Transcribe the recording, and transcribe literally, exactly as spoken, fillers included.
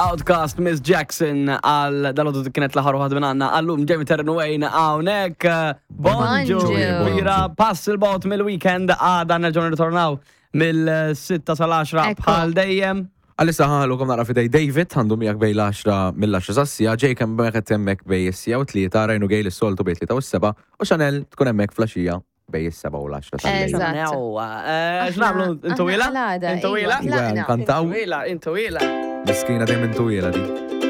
Outkast, Miss Jackson, għal dal-għodu kienet l-aħħar waħda minn għandna għallum. Jamie Terren Wayne hawnhekk. Bonġu. Bonġu. Bira, pass il-bot mill-weekend, għada nerġgħu nirritornaw mill-sitta sal-għaxra Ekku. bħal dejjem. Għalissa ħa nħallukom naqra f'idejn David, għandu miegħek bejn l-għaxra, mill-għaxra sas-siegħa, Jake hemmhekk hemmhekk bejn is-siegħa u tlieta, Rajnu Gejl is-soltu bejn tlieta u s-sebgħa, u Chanel tkun hemmhekk filgħaxija bejn is-sebgħa u l-għaxra tal-lejl. Eżatt. Ewa, eh, x'nagħmlu? Intu ila? Aħna għal-għada, Intu iva, ila? tlaqna. Iwa, nkantaw. Intu ila, intu ila. Miskina dejjem intu ila di.